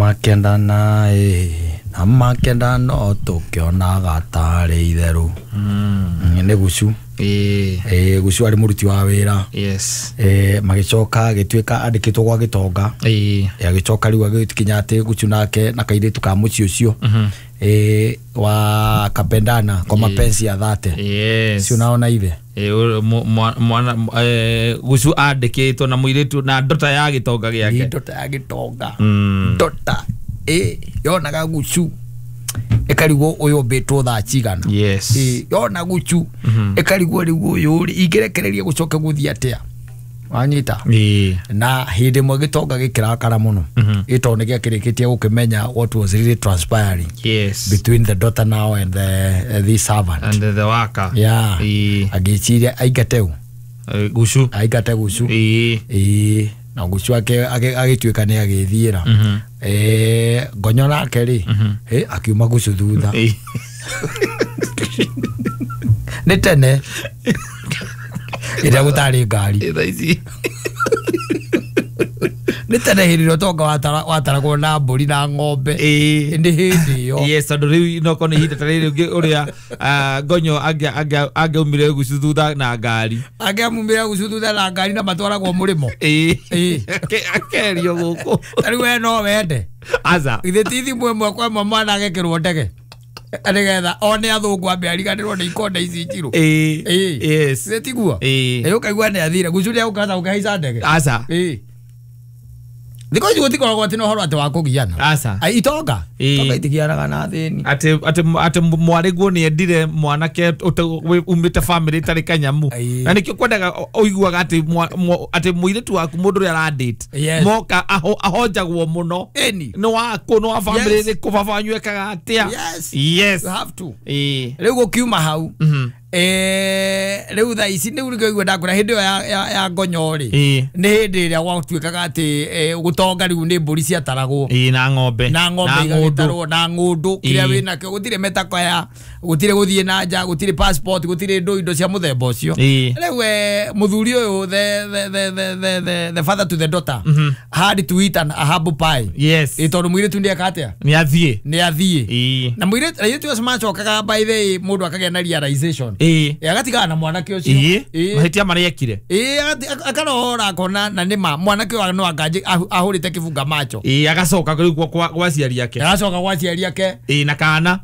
Makendana na makendana no tukionaga tarĩ itherũ. Nĩ Gucu. Gucu arĩ mũruti wa wĩra. Yes. Magĩcoka agĩtuĩka andĩkĩtwo gwa gĩtonga. Agĩcoka rĩu agĩkinya atĩ Gucu nake na kairĩtu ka mũciĩ ũcio wa kapendana kwa mapenzi ya dhati. Yes. Si unaona hivi? Mwana Gucu andĩkĩtwo na mũirĩtu na ndota ya gĩtonga gĩake. Ndota ya gĩtonga. Ndota yonaga Gucu ĩkarigwo ũyũ ũmbĩtwo thaa cigana. Yes. Yona Gucu ĩkarigwo rĩu ũyũ rĩ ingĩrekereria gũcoke gũthiĩ atĩa. Wanyita? Na hĩndĩ ĩmwe gĩtonga gĩkĩrakara mũno. Gĩtondũ nĩ gĩakĩrĩkĩtie gũkĩmenya what was really transpiring. Yes. Between the daughter now and the servant. And the worker. Yeah. Agĩciria aingate ũ? Gucu. Aingate Gucu. Na Gucu agĩtuĩka nĩ agĩthiĩra. Ngonyo nake rĩ, akiuma Gucu thutha. Nĩ tene. Ĩrĩa gũtarĩ ngari. Nĩ tene hĩndĩ ĩrĩa ũtonga wataragwo na mbũri na ng'ombe. Nĩ hĩndĩ ĩyo. Yes, tondũ rĩu no korwo nĩ ihinda ta rĩrĩ ũngĩ ũrĩa Ngonyo angĩaumire Gucu thutha na ngari. Angĩamumire Gucu thutha na ngari na matwaragwo mũrĩmo. Akerio gũkũ. Ta rĩu we no wende. Aca. Githĩ ti thimũ ĩmwe kwa ĩmwe mwana agekĩrwo ndege. Nĩgetha one athũngũ ambe ariganĩrwo nĩ ikonde ici njirũ. Yes. Githĩ tiguo? Ũkaigua nĩ athire. Gucu nĩ egũkahota gũkĩhaica ndege. Aca. Thikũ ici gũtikoragwo atĩ na ũhoro atĩ wa kũgiana. Aca. Itonga. Itonga itigianaga na athĩni. Atĩ mwarĩguo nĩ endire mwanake umĩte family ĩtarĩ kanyamu. Na nĩkĩo kwendaga ũiguaga atĩ atĩ mũirĩtu waku mũndũ ũrĩa aradate. Moka ahonjagwo mũno. Nĩ waku nĩ wa family ĩrĩkũ baba wanyu ekaga atĩa. Yes. Yes. You have to. Rĩu gũkiuma hau. Rĩu thaa ici nĩu nĩkĩo igua ndakwĩra hĩndĩ ĩyo ya Ngonyo rĩ, nĩ hĩndĩ ĩrĩa gwatuĩkaga atĩ gũtonga rĩu nĩ mbũri ciataragwo. Na ng'ombe. Na ng'ombe igagĩtarwo na ng'ũndũ kĩrĩa wĩnakĩo gũtirĩ mĩtako ya gũtirĩ gũthiĩ na nja gũtirĩ passport gũtirĩ indo cia mũthemba ũcio. Rĩu mũthuri ũyũ the father to the daughter had to eat a humble pie. Yes. Tondũ mũirĩtu nĩeka atĩa? Nĩ athiĩ. Nĩ athiĩ. Na mũirĩtu acio macokaga by the way mũndũ akagĩa na realization. Agatigana na mwanake ũcio. Mahĩtia marĩa ekire. Akarora akona na nĩma mwanake ũyũ no anga ahũrĩte kĩbunga macho. Agacoka rĩu gwa aciari ake. Agacoka gwa aciari ake. Na kana.